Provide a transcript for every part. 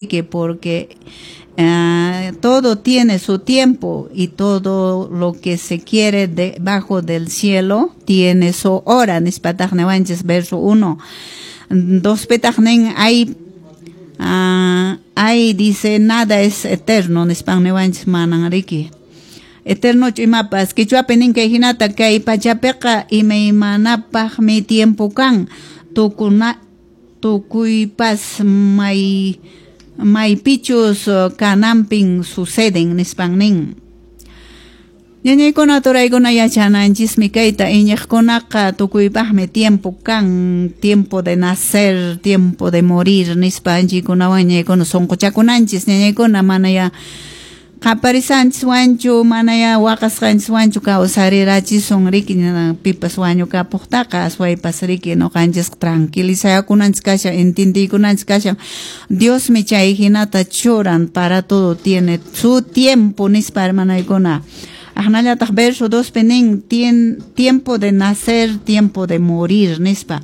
Porque todo tiene su tiempo y todo lo que se quiere debajo del cielo tiene su hora. Nispataq niwanchis verso 1. 2 pitaq nin ay, dice, nada es eterno, nispan niwanchis. Manan riki eternochu imapas. Quichuapi nin kay hinata: kay pachapiqa imaymanapaqmi tiempo kan, tukuna tukuypas may maypichus kananpin suceden, nispan nin. Ñañaykuna, turaykuna, yachananchismi kayta: iñiqkunaqa tukuypaqmi tiempo kan, tiempo de nacer, tiempo de morir, nispa anchikunawan ñañaykuna sunquchakunanchis. Ñañaykuna, manaya qaparisanchis wanchu, manaya waqasqanchis wanchu kawsarirachisun riki pipas wañukapuqtaqa. Aswaypas riki ñuqanchis tranquilizakunanchis kashan, entendiykunanchis kashan, Diosmi chay hinata churan, para todo tiene su tiempo, nispa, hermanaykuna. Aqnallataq verso 2 nin tiempo de nacer, tiempo de morir, nispa.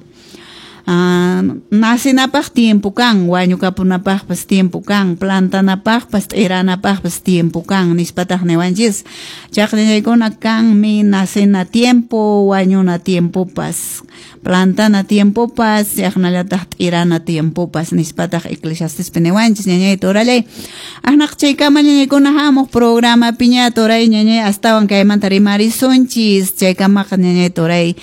Nacinapaq tiempo kan, wañukapunapaqpas tiempo kan, plantanapaqpas t'iranapaqpas tiempo kan, nispataq niwanchis. Chaqllaykuna kanmi nacena tiempo, wañuna tiempopas, plantana tiempopas, chaqnallataq t'irana tiempopas, nispataq Eclesiastespi niwanchis, ñañay turallay. Aqnaq chaykama, ñañaykuna, hamuq programa piña turay, ñañay, astawan kaymanta rimarisunchis. Chaykamaqa, ñañay turay,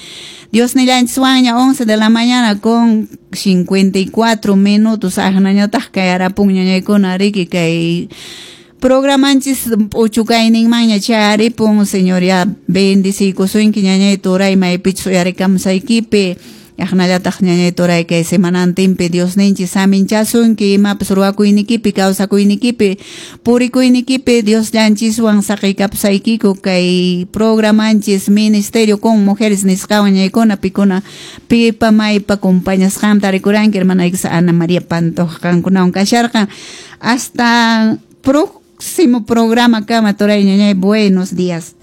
Dios nillanchis, 11 de la mañana con 54 minutos aqnañataq kay arapun, ñañaykuna, riki kay programanchis p'uchukayninmanña charipun. Señor ya bendiciykusunki, ñañay turay, maypichus uyarikamusaykipi. Aqnallataq, ñañay turay, kay semanantinpi Diosninchis saminchasunki imapas ruwakuynikipi, kawsakuynikipi, purikuynikipi. Dios llanchiswan saqiykapusaykiku kay programanchis Ministerio con Mujeres nisqawan, ñaykuna, pikuna pipa maypa compañasqanta rikuranki. Hermanayki Ana María Pantoja qankunawan kasharqan. Hasta próximo programa kama, turay, ñañay, buenos días.